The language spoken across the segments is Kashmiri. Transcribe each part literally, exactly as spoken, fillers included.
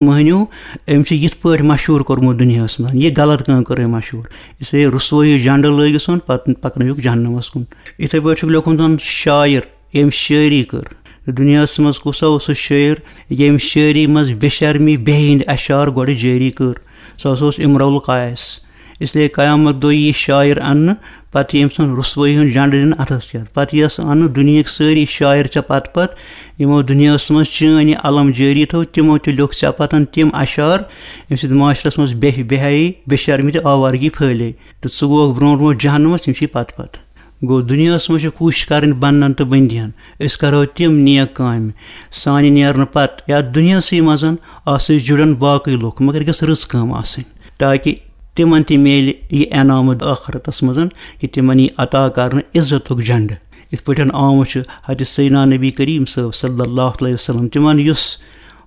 مٔہنیو، أمۍ چھُ یِتھ پٲٹھۍ مشہوٗر کوٚرمُت دُنیاہَس منٛز، یہِ غلط کٲم کٔر أمۍ مشہوٗر۔ اس لیے رسوٲیی ہُک جنڈٕ لٲگِو سون، پَتہٕ پَکنٲیِوُکھ جہنمَس کُن۔ یِتھَے پٲٹھۍ چھُکھ لیوٚکھمُت زَن شاعر، ییٚمۍ شٲعری کٔر۔ دُنیاہَس منٛز کُس ہا اوس سُہ شٲعر، ییٚمۍ شٲعری منٛز بے شرمی، بے ہِنٛدۍ اشعار گۄڈٕ جٲری کٔر؟ سُہ ہسا اوس امرؤ القیس۔ اس لیے قیامت دۄہ یی شاعر اننہٕ، پتہٕ یی أمۍ سٕنٛز رسوٲیی ہُنٛد جنڈٕ دِنہٕ اتھس کٮ۪تھ۔ پتہٕ یِیَس اننہٕ دُنیہٕکۍ سٲری شاعر ژےٚ پتہٕ پتہٕ، یِمو دُنیاہس منٛز چٲنۍ یہِ علم جٲری تھٲو، تِمو تہِ لیوٚکھ ژےٚ پتن تِم اشعار، ییٚمہِ سۭتۍ معاشرس منٛز بے بے حیٲیی، بے شرمی تہٕ آوارگی پھٲلے۔ تہٕ ژٕ گوکھ برونٛٹھ برونٛٹھ جہنمس، تِم چھِ پتہٕ پتہٕ۔ گوٚو، دُنیاہس منٛز چھِ کوٗشِش کرٕنۍ بننن تہٕ بٔنٛدِیَن۔ أسۍ کرو تِم نیک کامہِ، سانہِ نیرنہٕ پتہٕ یتھ دُنیاہسٕے منٛز آسو أسۍ جُڑن باقٕے لُکھ، مگر گٔژھ رٕژ کٲم آسٕنۍ، تاکہِ تِمن تہِ میلہِ یہِ انعام ٲخرتس منٛز، کہِ تِمن یی عطا کرنہٕ عزتُک جنڈٕ۔ یِتھ پٲٹھۍ آمُت چھُ حضرت سیدنا نبی کریم صٲب صلی اللہ علیہ وسلم، تِمن یُس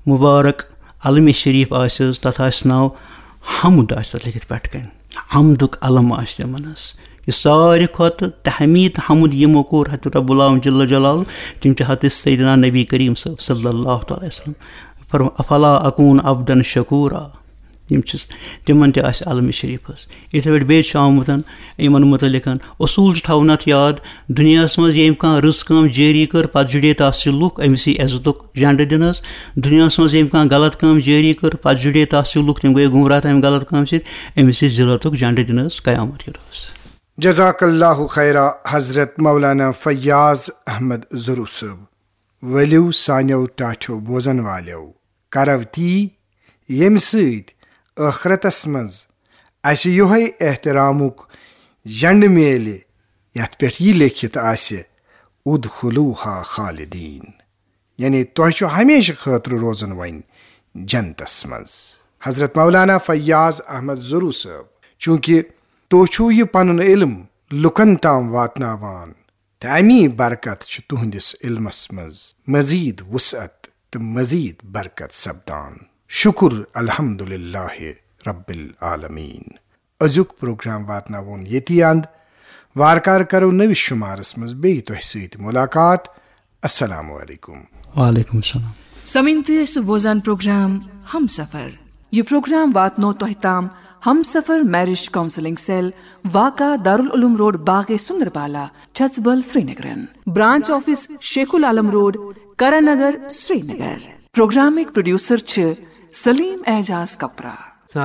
مبارک علم شریف آسہِ حظ، تتھ آسہِ ناو حمد، آسہِ تتھ لیکھِتھ پٮ۪ٹھٕ کنہِ۔ حمدُک علم آسہِ تِمن حظ۔ یہِ ساروی کھۄتہٕ تحمید حمد یِمو کوٚر حضرت رب العالمین جل جلالہ، تِم چھِ حضرت سیدنا نبی کریم صٲب صلی اللہ تعالیٰ علیہ وسلم۔ فرمو، "افلا اکون عبدا شکورا"۔ یِم چھِ، تِمن تہِ آسہِ علم شریف حظ۔ یِتھے پٲٹھۍ بیٚیہِ چھُ آمُت یِمن متعلق اصوٗل چھُ تھاوُن اتھ یاد، دُنیاہس منٛز ییٚمۍ کانٛہہ رٕژ کٲم جٲری کٔر، پتہٕ جُڑے تتھ سۭتۍ لُکھ، أمِس یی عزتُک جنڈٕ دِنہٕ حظ۔ دُنیاہس منٛز ییٚمۍ کانٛہہ غلط کٲم جٲری کٔر، پتہٕ جُڑے تتھ سۭتۍ لُکھ، تِم گٔے گمراہ تمہِ غلط کامہِ سۭتۍ، أمِس یی ذلتُک جنڈٕ دِنہٕ حظ قیامت کہِ دۄہس۔ جزاک اللہ خیرا حضرت مولانا فیاض احمد ضروٗ صٲب۔ ؤلِو سانیو ٹاٹھیو بوزن والیو، کرو تی، ییٚمہِ سۭتۍ ٲخرتس منٛز اسہِ یِہوٚے احترامُک جنڈٕ میلہِ، یتھ پٮ۪ٹھ یہِ لیکھِتھ آسہِ، "ادخلوها خالدین"، یعنی تۄہہِ چھُ ہمیشہٕ خٲطرٕ روزُن وۄنۍ جنتس منٛز۔ حضرت مولانا فیاض احمد ضروٗ صٲب، چوٗنٛکہِ تُہۍ چھِو یہِ پنُن علم لُکن تام واتناوان، تہٕ امی برکت چھُ تُہنٛدِس علمس منٛز مزید وسعت تہٕ مزید برکت سپدان۔ شکر الحمدللہ رب العالمین۔ أزیُک پروگرام واتناوون ییٚتی اند۔ وارٕ کارٕ کرو نٔوِس شمارس منٛز بیٚیہِ تۄہہِ سۭتۍ ملاقات۔ السلام علیکم۔ وعلیکم السلام۔ سمعین، تُہۍ ٲسِو بوزان پروگرام ہمسفر۔ یہِ پروگرام واتنو تۄہہِ تام ہمسفر میرج کاؤنسلنگ سیل، واقع دارالعلوم روڈ، باغے سندربالا، چھژبل، سرینگرن۔ Branch office Sheikh ul Alam road, Karan Nagar, Srinagar. پروگرامٕکۍ پروڈیوسر چھِ سلیم اعجاز کپرا۔